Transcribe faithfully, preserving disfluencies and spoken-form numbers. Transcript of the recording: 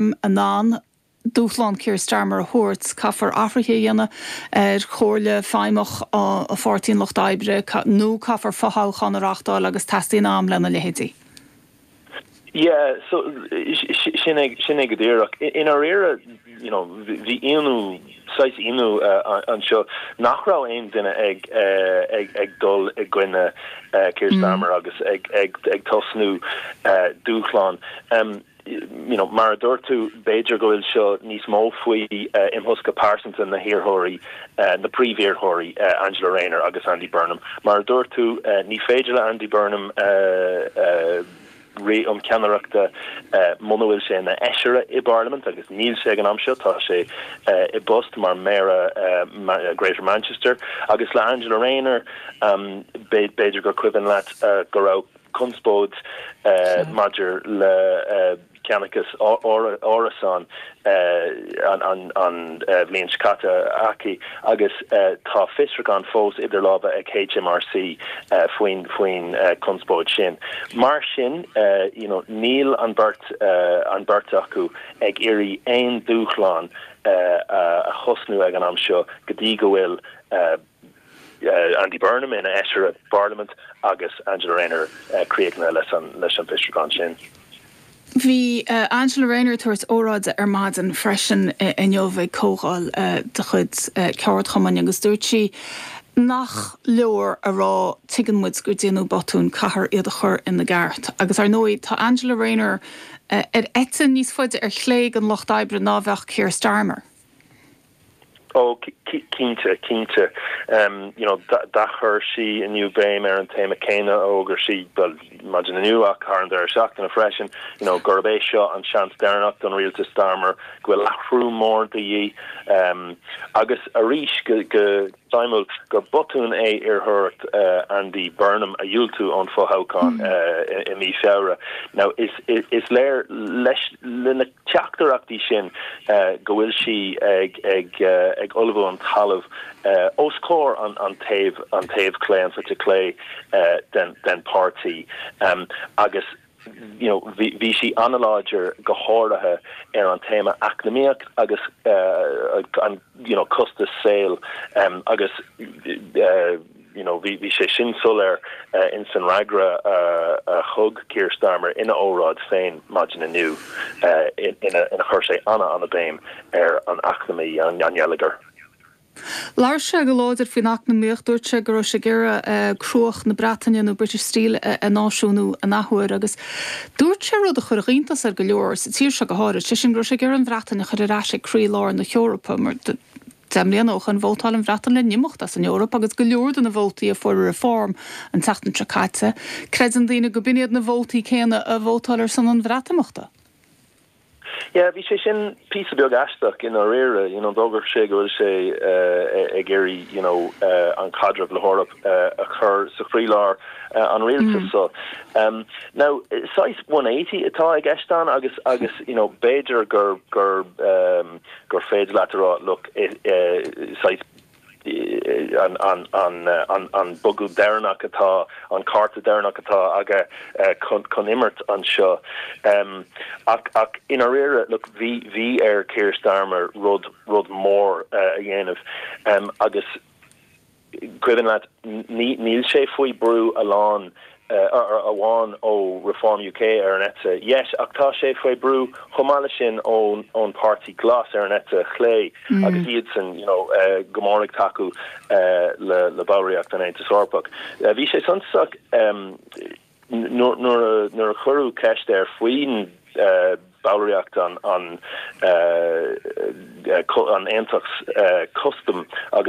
in ann dúshlán Keir Starmer a thabhairt, caithfear athruithe a dhéanamh ar chomhairle feidhmeach a Pháirtí an Lucht Oibre nó caithfear fothoghchán a reáchtáil agus teastaíonn am lena leithéidí. Yeah, so sin sin é go díreach. I ndáiríre you know, bhí ionadh saghas ionadh uh, anseo nach raibh aon duine ag uh, ag ag dul i gcoinne uh, Keir mm. Starmer agus ag ag ag tosnú uh, dúshlán. Um, you know, mar a dúirt tú b'fhéidir go bhfuil seo níos mó faoi uh, imthosca pearsanta na hiarrthóirí uh, na príomhiarrthóirí uh, Angela Rayner agus Andy Burnham. Mar a dúirt tú uh, ní féidir le Andy Burnham uh, uh, rith um ceannaireachta uh, muna bhfuil sé ina fheisire i bParlaimint agus níl sé ag an am seo tá sé uh, i bpost mar méara uh, ma Greater Manchester agus le Angela Rayner um, b'fhéidir gur cuimhin leat uh, go raibh conspóid uh, maidir le uh, ceannachas árasán uh, an, an, an uh, bhliain seo caite aici agus uh, tá fiosrúchán fós idir lámha ag HMRC uh, faoin faoin uh, conspóid sin. Mar sin uh, you know, níl an beirt uh, an beirt acu ag iarraidh aon dúshlán uh, uh, a thosnú ag an am seo go dtí go bhfuil uh, uh, Andy Burnham ina fheisire Parliament agus Angela Rayner uh, críochnaithe leis an leis an bhfiosrúchán sin. Bhí uh, Angela Rayner tabhairt óráide ar maidin freisin uh, inniu ag comhdháil uh, de chuid uh, ceardchumainn agus dúirt sí nach leor a rá tuigeann muid gur déanadh botún caithfear iad a chur ina gceart. Agus ar ndóigh tá Angela Rayner uh, ar eite níos faide ar chlé an lucht oibre ná bheadh Keir Starmer. Ó cinnte cinnte um, you know, d'athchuir sí inniu béim ar an téama céanna ó gur sí maidin inniu ach thar an deireadh seachtaine freisin you know, gurb é seo an seans deireanach don rialtas Starmer go bhfuil athrú mór de dhíth um, agus arís go go suimiúil gur botún é iarrthóireacht uh, Andy Burnham a dhiúltú ón fothoghchán mm. uh, i, i mí Feabhra. Now is, is, is léir leis le na teachtaireachtaí sin uh, go bhfuil sí ag ag uh, ag ullmhú an talamh uh, os comhair an an taobh an taobh clé an eite clé uh, den den páirtí um, agus you know bhí bhí sí an-láidir go háirithe ar an téama eacnamaíoch agus uh, an you know costas saoil um, agus uh, you know bhí bhí sé sin soiléir uh, in san fhreagra uh, uh, thug Keir Starmer ina óráid féin maidin inniu uh, ina ina chuir sé ana an-bhéim ar an eacnamaí an an geilleagar. Labhair sé go láidir faoin eacnamaíocht dúirt sé go raibh sé ag iarraidh cruach na Breataine nó British Steel a náisiúnú an athuair agus dúirt sé rud a chuir iontas ar go leor sa tír seo go háirithe sé sin go raibh sé ag iarraidh an Bhreatain a chur ar ais ag croílár na hEorpa mar deich mbliana ó shin vótáil an Bhreatain le n-imeacht as an Eoraip agus go leor de na vótaí a fuair Reform an tseachtain seo caite, Creideann daoine go b'iad na vótaí céanna a vótáil ar son an Bhreatimeachta. Yeah, bhí sé sin píosa beag aisteach i ndáiríre you know d'fhógair sé go bhfuil sé uh, ag iarraidh you know uh, an caidreamh le hEoraip uh, a chur sa chroílár uh, an rialtas mm. so um, now saghas one eighty atá i gceist ann agus agus you know b'fhéidir gur gur um, gur féidir leat rá look uh, saghas an an an an an bogadh deireanach atá an cárta deireanach atá aige uh, chun chun imirt anseo um, ach ach i ndáiríre look bhí bhí ar Keir Starmer rud rud mór uh, a dhéanamh um, agus cuimhin leat níl sé faoi brú a lán uh, amháin ó Reform UK ar an eite dheis ach tá sé faoi brú chomh maith sin ón ón Páirtí Glas ar an eite chlé mm. agus iad san you know, uh, go mór ag tacú uh, le le ballraíocht an Aontas Eorpach. Uh, bhí sé suntasach um, nuair nuair a cuireadh ceist air faoin uh, ballraíocht an an uh, an aontas uh, custom agus